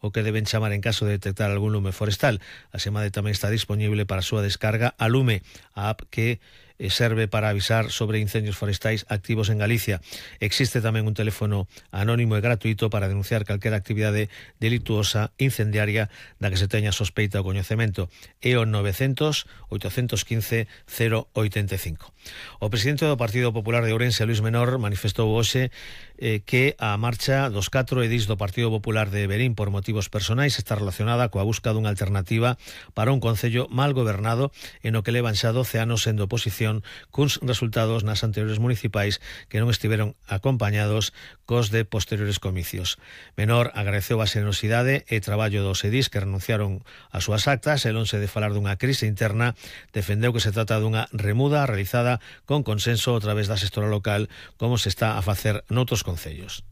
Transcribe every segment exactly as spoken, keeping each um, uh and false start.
o que deben chamar en caso de detectar algún lume forestal. A SEMADE tamén está disponible para a súa descarga a Lume, a app que serve para avisar sobre incendios forestais activos en Galicia. Existe tamén un teléfono anónimo e gratuito para denunciar calquera actividade delituosa incendiaria da que se teña sospeita ou coñecemento. É o novecientos, oitocentos quince, cero oitenta e cinco. O presidente do Partido Popular de Ourense, Luís Menor, manifestou hoxe eh, que a marcha dos catro edís do Partido Popular de Verín por motivos personais está relacionada coa busca dunha alternativa para un concello mal gobernado e no que levan xa doce anos sendo oposición cuns resultados nas anteriores municipais que non estiveron acompañados cos de posteriores comicios. Menor agradeceu a xenerosidade e traballo dos edís que renunciaron ás súas actas e lonxe de falar dunha crise interna, defendeu que se trata dunha remuda realizada con consenso a través da xestora local, como se está a facer noutros concellos.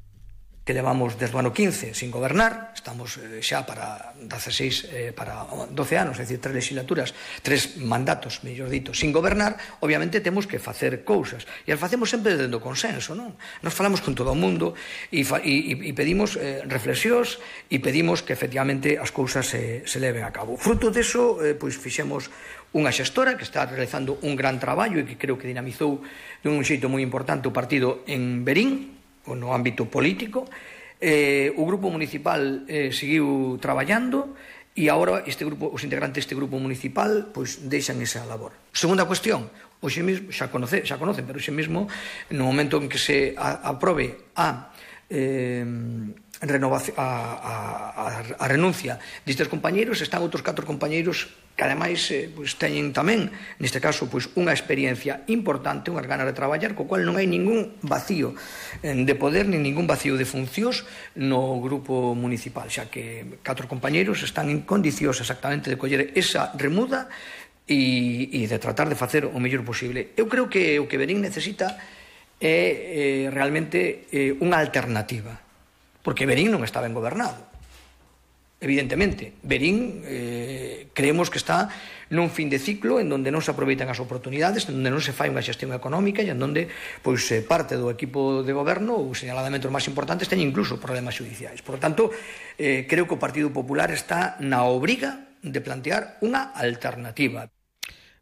Que levamos desde o ano quince sin gobernar, estamos eh, xa para dezasseis, eh, para doce anos, é dicir, tres legislaturas, tres mandatos, mellor dito, sin gobernar, obviamente temos que facer cousas, e as facemos sempre desde o consenso, non? Nos falamos con todo o mundo e, e, e pedimos eh, reflexións e pedimos que efectivamente as cousas se, se leven a cabo. Fruto deso, eh, pois fixemos unha xestora que está realizando un gran traballo e que creo que dinamizou dun xeito moi importante o partido en Verín, no ámbito político. Eh, o grupo municipal eh, seguiu traballando e agora este grupo, os integrantes deste grupo municipal pois deixan esa labor. Segunda cuestión, hoxe mesmo, xa, conoce, xa conocen, pero hoxe mesmo no momento en que se a, aprobe a eh, renovación, a, a, a, a renuncia destes compañeiros, están outros catro compañeiros que ademais eh, pois, teñen tamén, neste caso, pois, unha experiencia importante, unhas ganas de traballar, co cual non hai ningún vacío eh, de poder, nin ningún vacío de funcións no grupo municipal, xa que catro compañeiros están en condicións exactamente de coller esa remuda e, e de tratar de facer o mellor posible. Eu creo que o que Verín necesita é eh, realmente eh, unha alternativa, porque Verín non está ben gobernado. Evidentemente, Verín eh, creemos que está nun fin de ciclo en donde non se aproveitan as oportunidades, en donde non se fai unha xestión económica e en donde pois, eh, parte do equipo de goberno, ou señaladamente os máis importantes, teñen incluso problemas judiciais. Por lo tanto, eh, creo que o Partido Popular está na obriga de plantear unha alternativa.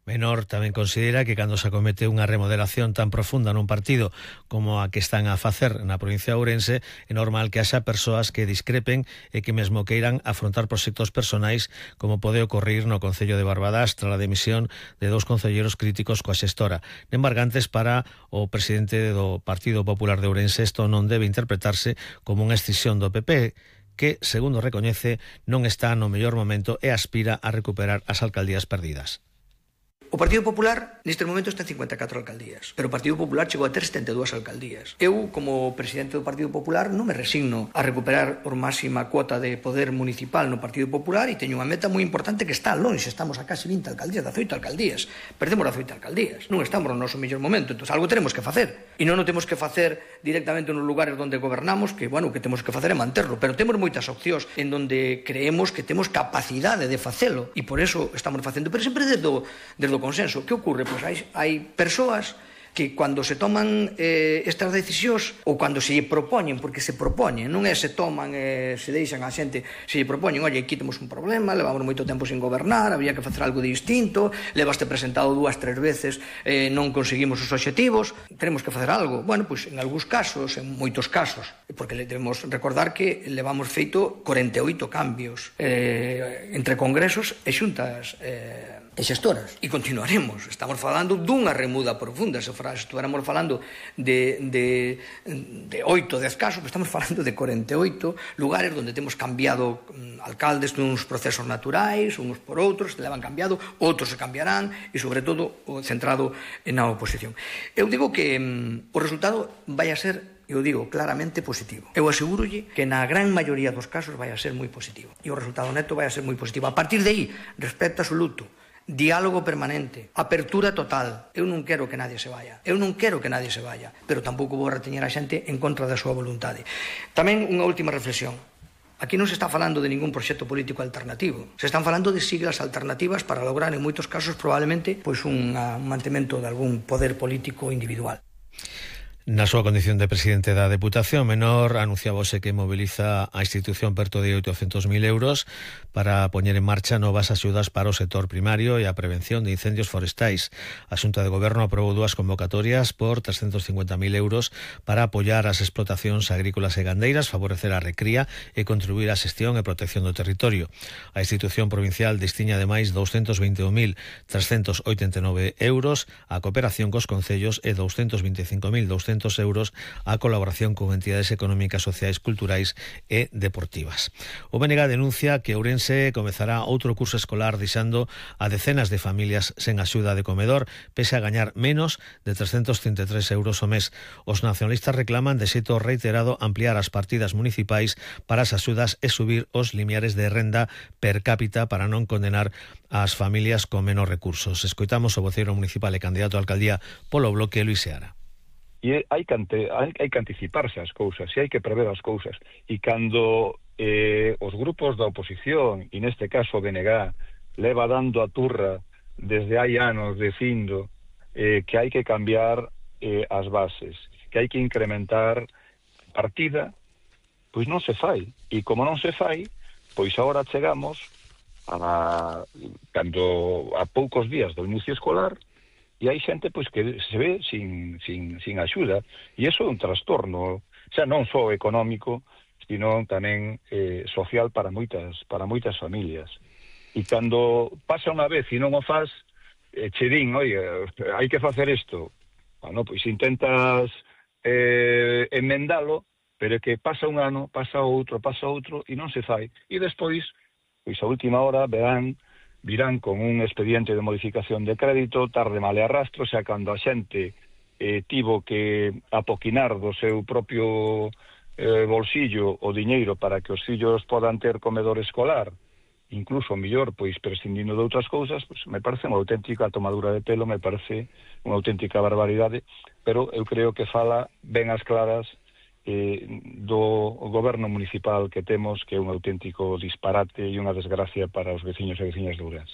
Menor tamén considera que cando se acomete unha remodelación tan profunda nun partido como a que están a facer na provincia de Ourense, é normal que haxa persoas que discrepen e que mesmo queiran afrontar proxectos personais como pode ocorrir no Concello de Barbadas tras a demisión de dous concelleros críticos coa xestora. Embargantes para o presidente do Partido Popular de Ourense, isto non debe interpretarse como unha escisión do P P, que, segundo recoñece, non está no mellor momento e aspira a recuperar as alcaldías perdidas. O Partido Popular neste momento está en cincuenta e catro alcaldías, pero o Partido Popular chegou a ter setenta e dúas alcaldías. Eu, como presidente do Partido Popular, non me resigno a recuperar por máxima cuota de poder municipal no Partido Popular e teño unha meta moi importante que está longe, estamos a casi vinte alcaldías, dezoito alcaldías. Perdemos dezoito alcaldías, non estamos no noso mellor momento, entón algo tenemos que facer. E non o temos que facer directamente nos lugares onde gobernamos, que, bueno, que temos que facer é manterlo, pero temos moitas opcións en donde creemos que temos capacidade de facelo e por eso estamos facendo, pero sempre desde o, desde o consenso. Que ocorre? Pois hai, hai persoas que cando se toman eh, estas decisións ou cando se lle propoñen, porque se propoñen, non é se toman e eh, se deixan a xente, se lle propoñen, oye, aquí temos un problema, levamos moito tempo sin gobernar, había que facer algo distinto, levaste presentado dúas, tres veces, eh, non conseguimos os obxectivos, tenemos que facer algo. Bueno, pois en algúns casos, en moitos casos, porque debemos recordar que levamos feito corenta e oito cambios eh, entre congresos e xuntas eh, e xestoras, e continuaremos. Estamos falando dunha remuda profunda. Se estuéramos falando de, de, de oito, dez casos, estamos falando de corenta e oito lugares onde temos cambiado alcaldes nuns procesos naturais, uns por outros, se levan cambiado, outros se cambiarán, e sobre todo centrado na oposición. Eu digo que um, o resultado vai a ser, eu digo, claramente positivo. Eu asegurolle que na gran maioría dos casos vai a ser moi positivo. E o resultado neto vai a ser moi positivo. A partir de aí, respecto absoluto, diálogo permanente, apertura total. Eu non quero que nadie se vaya. Eu non quero que nadie se vaya, pero tampouco vou reteñer a xente en contra da súa voluntade. Tamén unha última reflexión. Aquí non se está falando de ningún proxecto político alternativo. Se están falando de siglas alternativas para lograr, en moitos casos, probablemente, pois un mantemento de algún poder político individual. Na súa condición de presidente da Deputación, Menor anunciábose que mobiliza a institución perto de oitocentos mil euros para poñer en marcha novas axudas para o sector primario e a prevención de incendios forestais. A Xunta de Goberno aprobou dúas convocatorias por trescentos cincuenta mil euros para apoiar as explotacións agrícolas e gandeiras, favorecer a recría e contribuir á xestión e protección do territorio. A institución provincial destiña ademais douscentos vinte e un mil trescentos oitenta e nove euros a cooperación cos concellos e douscentos vinte e cinco mil douscentos euros a colaboración con entidades económicas, sociais, culturais e deportivas. O B N G denuncia que Ourense comezará outro curso escolar deixando a decenas de familias sen axuda de comedor, pese a gañar menos de trescentos trinta e tres euros ao mes. Os nacionalistas reclaman de xeito reiterado ampliar as partidas municipais para as axudas e subir os limiares de renda per cápita para non condenar ás familias con menos recursos. Escoitamos o voceiro municipal e candidato a alcaldía polo Bloque, Luís Seara. E hai que, ante, hai, hai que anticiparse as cousas, e hai que prever as cousas. E cando eh, os grupos da oposición, e neste caso o B N G, leva dando a turra desde hai anos dicindo eh, que hai que cambiar eh, as bases, que hai que incrementar partida, pois non se fai. E como non se fai, pois agora chegamos a, cando, a poucos días do inicio escolar, e hai xente pois que se ve sin, sin, sin axuda, e iso é un trastorno, xa non só económico, sino tamén eh, social para moitas para moitas familias. E cando pasa unha vez e non o faz, eh, che din, oi, hai que facer isto. Bueno, pois intentas eh, enmendalo, pero é que pasa un ano, pasa outro, pasa outro, e non se fai. E despois, pois a última hora verán virán con un expediente de modificación de crédito, tarde male arrastro, xa cando a xente eh, tivo que apoquinar do seu propio eh, bolsillo o diñeiro para que os fillos podan ter comedor escolar, incluso mellor, pois prescindindo de outras cousas, pois me parece unha auténtica tomadura de pelo, me parece unha auténtica barbaridade, pero eu creo que fala ben as claras Eh, do goberno municipal que temos, que é un auténtico disparate e unha desgracia para os veciños e veciñas de Ourense.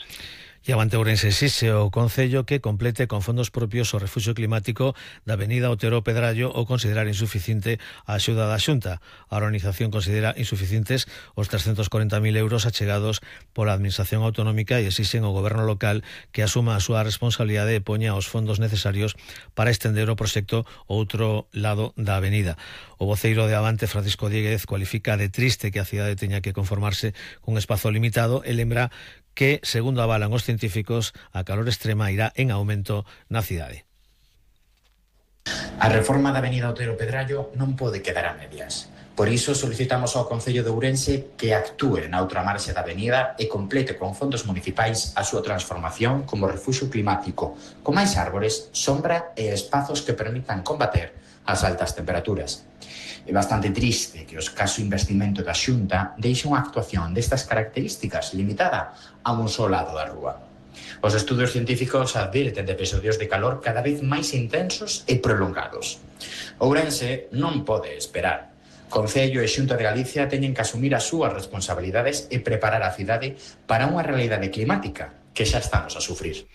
E avante Ourense exixe o Concello que complete con fondos propios o refuxio climático da avenida Otero Pedrallo ou considerar insuficiente a axuda da Xunta. A organización considera insuficientes os trescentos corenta mil euros achegados pola Administración Autonómica e exixen ao Goberno local que asuma a súa responsabilidade e poña os fondos necesarios para estender o proxecto ao outro lado da avenida. O voceiro de Avante, Francisco Dieguez, cualifica de triste que a cidade teña que conformarse cun espazo limitado e lembra que, segundo avalan os científicos, a calor extrema irá en aumento na cidade. A reforma da avenida Otero Pedrallo non pode quedar a medias. Por iso solicitamos ao Concello de Ourense que actúe na outra marxe da avenida e complete con fondos municipais a súa transformación como refuxio climático, con máis árbores, sombra e espazos que permitan combater as altas temperaturas. É bastante triste que o escaso investimento da Xunta deixe unha actuación destas características limitada a un só lado da rúa. Os estudos científicos advirten de episodios de calor cada vez máis intensos e prolongados. Ourense non pode esperar. Concello e Xunta de Galicia teñen que asumir as súas responsabilidades e preparar a cidade para unha realidade climática que xa estamos a sufrir.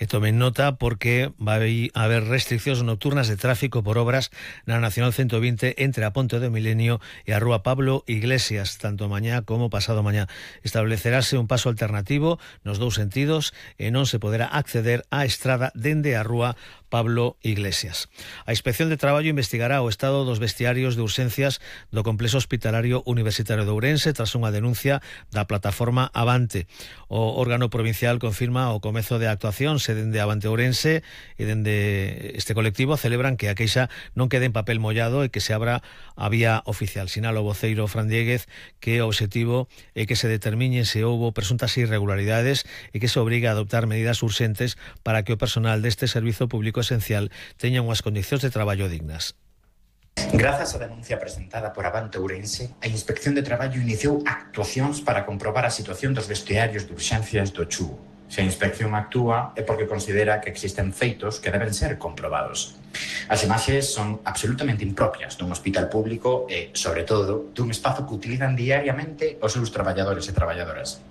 E tomen nota porque vai haber restriccións nocturnas de tráfico por obras na Nacional ciento vinte entre a Ponte do Milenio e a Rúa Pablo Iglesias, tanto mañá como pasado mañá. Estableceráse un paso alternativo nos dous sentidos e non se poderá acceder á estrada dende a Rúa Pablo Iglesias. A Inspección de Traballo investigará o estado dos vestiarios de urxencias do Complexo Hospitalario Universitario de Ourense tras unha denuncia da plataforma Avante. O órgano provincial confirma o comezo de actuacións e dende Avante Ourense e dende este colectivo celebran que a queixa non quede en papel mollado e que se abra a vía oficial. Sinala o voceiro Fran Dieguez que o obxectivo é que se determine se houbo presuntas irregularidades e que se obriga a adoptar medidas urxentes para que o personal deste servizo público esencial teña unhas condicións de traballo dignas. Grazas á denuncia presentada por Avante Ourense, a Inspección de Traballo iniciou actuacións para comprobar a situación dos vestiarios de urxencias do Chuo. Se a inspección actúa é porque considera que existen feitos que deben ser comprobados. As imaxes son absolutamente impropias dun hospital público e, sobre todo, dun espazo que utilizan diariamente os seus traballadores e traballadoras.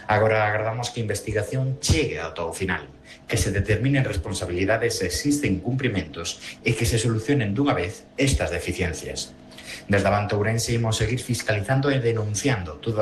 Agora agardamos que a investigación chegue ata o final, que se determinen responsabilidades se existen incumprimentos e que se solucionen dunha vez estas deficiencias. Desde Avante Ourense imos seguir fiscalizando e denunciando todas